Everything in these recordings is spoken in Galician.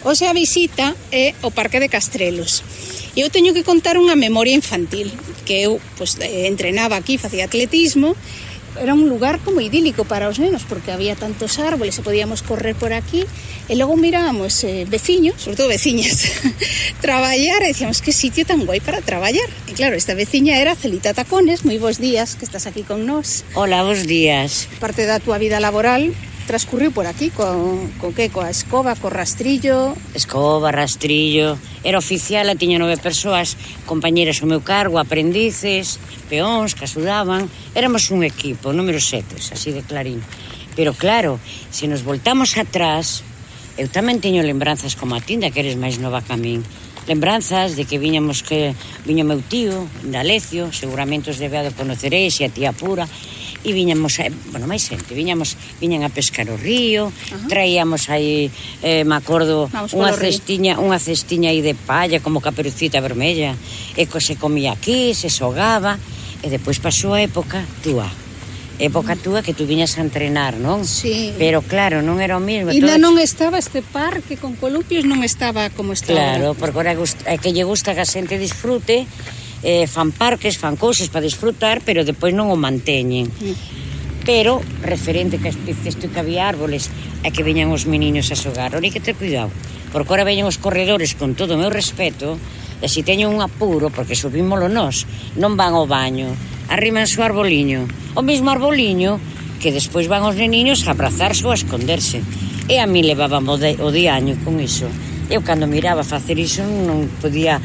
Hoxe a visita é o Parque de Castrelos. Eu teño que contar unha memoria infantil, que eu entrenaba aquí, facía atletismo. Era un lugar como idílico para os nenos, porque había tantos árboles e podíamos correr por aquí, e logo mirábamos veciños, sobre todo veciñas, traballar, e decíamos, que sitio tan guai para traballar. E claro, esta veciña era Celita Tacones. Moi bons días, que estás aquí con nós. Hola, bons días. Parte da túa vida laboral transcurriu por aquí, coa escoba, co rastrillo. Escoba, rastrillo. Era oficial, tiña 9 persoas, compañeras ao meu cargo, aprendices, peóns que axudaban. Éramos un equipo, número 7, así de clarín. Pero claro, se nos voltamos atrás, eu tamén teño lembranzas como a tinda, que eres máis nova que a min. Lembranzas de que viña meu tío, de Alecio, seguramente os debe de conoceréis, e a tía Pura, e viñamos, máis xente, viñan a pescar o río, traíamos aí, me acordo, unha cestiña aí de palla, como caperucita vermella, e se comía aquí, se xogaba, e depois pasou a época túa que tú viñas a entrenar, non? Sí. Pero claro, non era o mesmo. E non estaba este parque con columpios, non estaba como está. Claro, porque ahora é que lle gusta que a xente disfrute, fan parques, fan cousas para disfrutar, pero depois non o manteñen. Pero, referente que dices tú que había árboles e que veñan os meniños a xogar, ora hai que ter cuidado, porque ahora veñen os corredores, con todo o meu respeto, e se teñen un apuro, porque subímolo nós, non van ao baño, arriman o arboliño, o mesmo arboliño que despois van os neniños a abrazarse ou a esconderse. E a mí levábamos o diaño con iso. Eu, cando miraba facer iso, non podía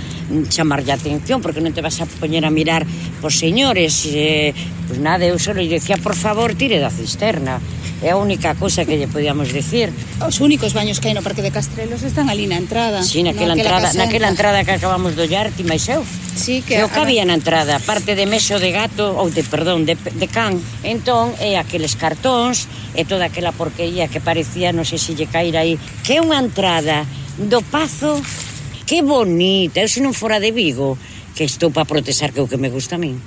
chamarlle a atención, porque non te vas a poñer a mirar por señores. Pois nada, eu só lle decía, por favor, tire da cisterna. É a única cousa que lle podíamos decir. Os únicos baños que hai no Parque de Castrelos están ali na entrada. Sí, naquela entrada que acabamos de ollar, ti máis eu. Sí, que que había na entrada, parte de mexo de gato, ou de can. Entón, aqueles cartóns, e toda aquela porquería que parecía, non sei se lle caíra aí, que é unha entrada do Pazo, que bonita. Eu, se non fora de Vigo, que estou para protestar, que é o que me gusta a min,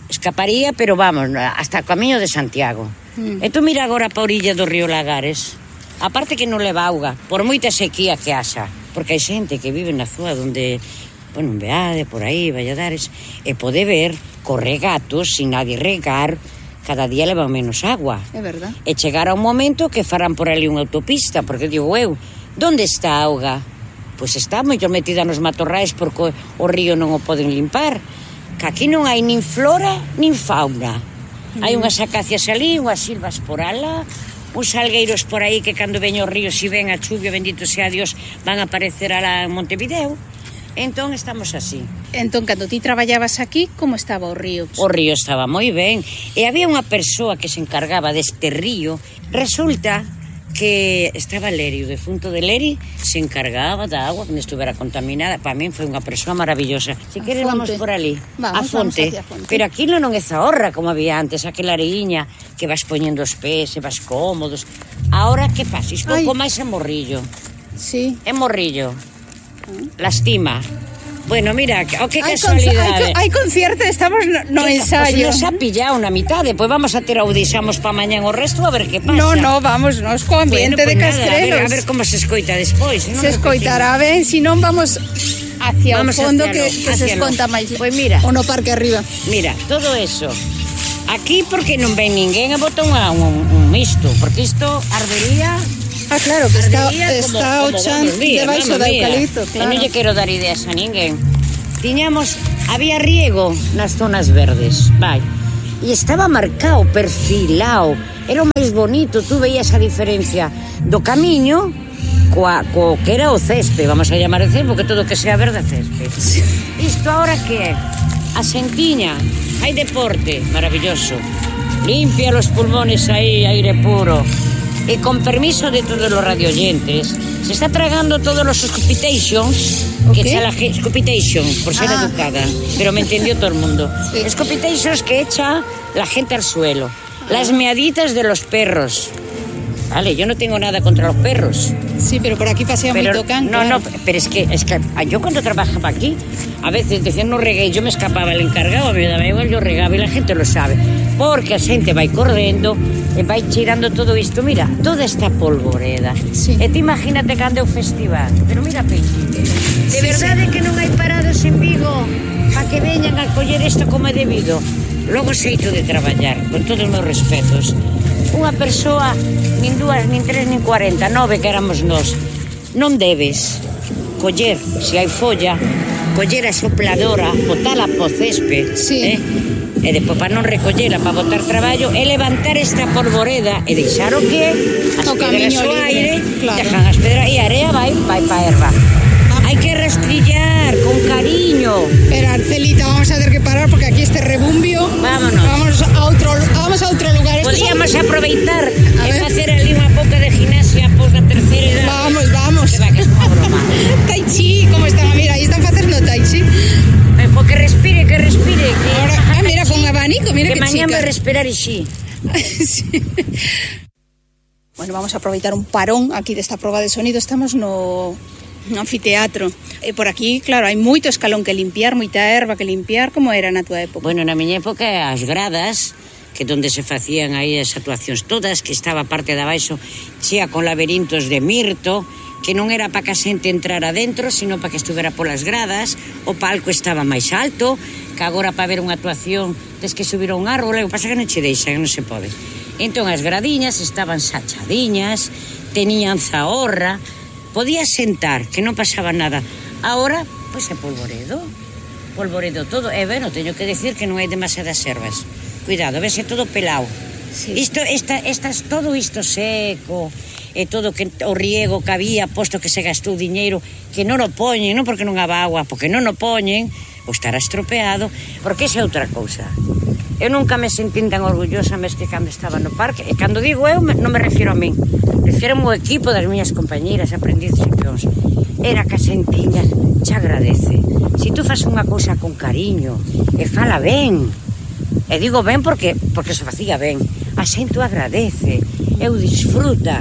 escaparía, pero vamos, hasta o camiño de Santiago. E tú mira agora pa orilla do río Lagares, aparte que non leva auga, por moita sequía que haxa, porque hai xente que vive na zona donde, en Beade, por aí, Valladares, e pode ver corregatos sin nadie regar, cada día levan menos agua. É verdad. E chegará un momento que farán por ali unha autopista, porque digo eu, donde está a auga? Pois está moito metida nos matorrais, porque o río non o poden limpar, que aquí non hai nin flora nin fauna. Hai unhas acacias ali, unhas silvas por ala, uns salgueiros por aí que cando veño o río, se ven a chuvia, bendito sea Dios, van a aparecer alá en Montevideo. Entón estamos así. Entón, cando ti traballabas aquí, como estaba o río? O río estaba moi ben, e había unha persoa que se encargaba deste río. Resulta que estaba Leri, o defunto de Leri, se encargaba da agua que non estuvera contaminada. Para min foi unha persoa maravillosa. Se queres vamos por ali, a fonte. Pero aquilo non é zahorra como había antes, aquela areiña que vas poñendo os pés e vas cómodos. Ahora que pasa? Isto pouco máis é morrillo. Sí. É morrillo. Lastima. Bueno, mira, que casualidade. Hai concierto, estamos no ensayo. Nos ha pillado na mitade, pois vamos a ter audicionamos pa mañán o resto, a ver que pasa. No, vamos, nos co ambiente de Castrelos. A ver como se escoita despois. Se escoitará ben, se non vamos hacia o fondo que se esconta máis. Pois mira. O no parque arriba. Mira, todo eso. Aquí porque non ven ninguén e bota un misto, porque isto ardería. Claro, que está o chan debaixo do eucalipto, claro. Non lle quero dar ideas a ninguén. Había riego nas zonas verdes, e estaba marcado, perfilado, era o máis bonito, tú veías a diferencia do camiño co que era o césped, vamos a llamar o césped, porque todo que sea verde é césped. Isto ahora que é? A Sentiña, hai deporte, maravilloso, limpia los pulmones aí, aire puro. E con permiso de todos los radioyentes, se está tragando todos los scupitations que echa la gente, scupitation, por ser educada, pero me entendió todo el mundo. Sí. Scupitations que echa la gente al suelo, las meaditas de los perros. Vale, yo no tengo nada contra los perros. Sí, pero por aquí pasea muy can. No, pero es que yo cuando trabajaba aquí, a veces decían no regué, yo me escapaba, el encargado me daba igual, yo regaba y la gente lo sabe. porque a xente vai correndo e vai cheirando todo isto. Mira, toda esta polvoreda. Sí. E ti imagínate cando é o festival. Pero mira, Peixi, de verdade que non hai parados en Vigo para que veñan a coller isto como é debido. Logo xeito de traballar, con todos os meus respetos. Unha persoa, nin 2, nin 3, nin 40, 9 que éramos nós. Non debes coller, se hai folla, coller a sopladora, botala po césped, Sí. E depois para non recollera, para botar traballo, e levantar esta polvoreda e deixar o que é, as O pedras camiño ao libre, aire, claro. dejan as pedras e a area vai pa erva. Hai que rastrillar con cariño. Pero Arcelita, vamos a tener que parar porque aquí este rebumbio. Vámonos. Vamos a otro lugar. Estos Podíamos aproveitar A e ver. facer ali unha pouca de gimnasia após da terceira edad. Vamos. Que va, que é unha broma. Tai chi, ¿cómo están? Mira, ahí están facendo tai chi. Porque respire, que respire. Que Ahora, mira, con abanico, mira que que mañá chica. vai respirar ixi. Sí. Bueno, vamos a aproveitar un parón aquí desta proba de sonido. Estamos no anfiteatro. E por aquí, claro, hai moito escalón que limpiar, moita erva que limpiar. Como era na túa época? Bueno, na miña época as gradas, que donde se facían aí as actuacións todas, que estaba a parte de abaixo chea con laberintos de mirto, que non era para que a xente entrara dentro, sino para que estuvera polas gradas. O palco estaba máis alto, que agora para ver unha actuación tes que subir a un árbol, o que pasa que non che deixan, non se pode. Entón as gradiñas estaban sachadiñas, tenían zahorra, podías sentar, que non pasaba nada. Agora, pois é polvoredo todo. E bueno, teño que decir que non hai demasiadas ervas. Cuidado, vese todo pelao. Sí. Todo isto seco, e todo que o riego que había, posto que se gastou diñeiro, que non o poñen, non porque non haba agua, porque non o poñen, ou estará estropeado, porque esa é outra cousa. Eu nunca me sentín tan orgullosa mes que cando estaba no parque, e cando digo eu, non me refiero a min, refiero ao equipo das miñas compañeras, aprendices e peóns. Era que a xentiña te agradece. Si tú fas unha cousa con cariño, e fala ben, e digo ben porque se facía ben, a xente o agradece, eu disfruta.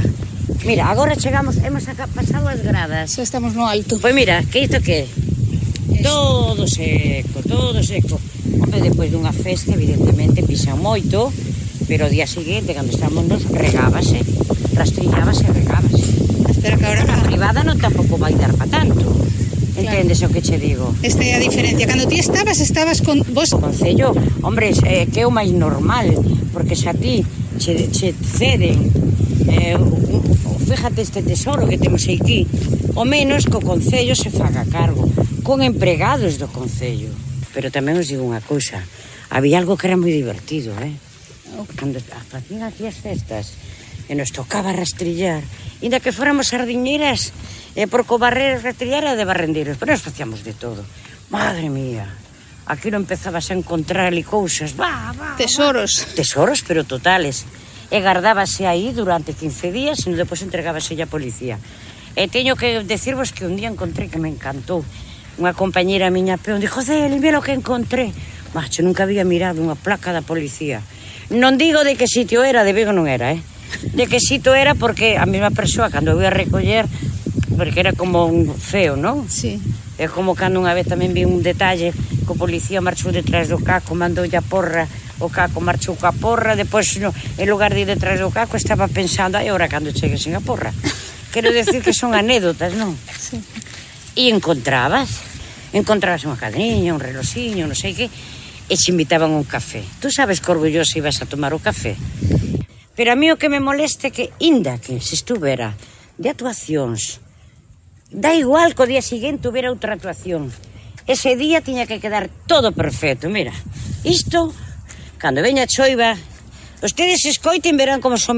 Mira, agora chegamos, hemos pasado as gradas. Xa estamos no alto. Pois mira, que isto que é? Todo seco. Hombre, depois dunha festa, evidentemente, pisan moito, pero o día seguinte, cando estamos nos, regábase, rastrillábase e regábase. Espera que ahora A privada non tampouco vai dar pa tanto. Entendes o que che digo? esta é a diferencia. Cando ti estabas con vos. O Concello, hombre, que é o máis normal, porque se a ti che ceden fíjate este tesoro que temos aquí, o menos que o Concello se faga cargo, con empregados do Concello. Pero tamén os digo unha cousa, había algo que era moi divertido, cando facían aquí as festas e nos tocaba rastrillar, inda que fóramos sardiñeras, porque o barrer rastrillar era de barrendeiros, pero nos facíamos de todo. Madre mía, aquí non empezabas a encontrar ali cousas, Tesoros. tesoros, pero totales. E gardábase aí durante 15 días e depois entregábase a policía. E teño que decirvos que un día encontré que me encantou. Unha compañera miña peón dixo, Celi, mira o que encontré. Macho, nunca había mirado unha placa da policía. Non digo de que sitio era, de Vigo non era, de que sitio era porque a mesma persoa, cando eu ia recoller, porque era como un feo, non? Sí. É como cando unha vez tamén vi un detalle que o policía marchou detrás do caco, mandoulle a porra, o caco marchou coa porra, depois en lugar de ir detrás do caco estaba pensando, ai, ora cando chegue sin a porra. Quero decir que son anécdotas, non? Sí. E encontrabas unha cadriña, un reloxiño, non sei que, e te invitaban a un café. Tú sabes que orgulloso ibas a tomar o café. Pero a mí o que me moleste é que, inda que se estuvera de actuacións, da igual que o día seguinte hubiera outra actuación. Ese día tiña que quedar todo perfecto. Mira, isto, cando veña a choiva, ustedes escoiten verán como son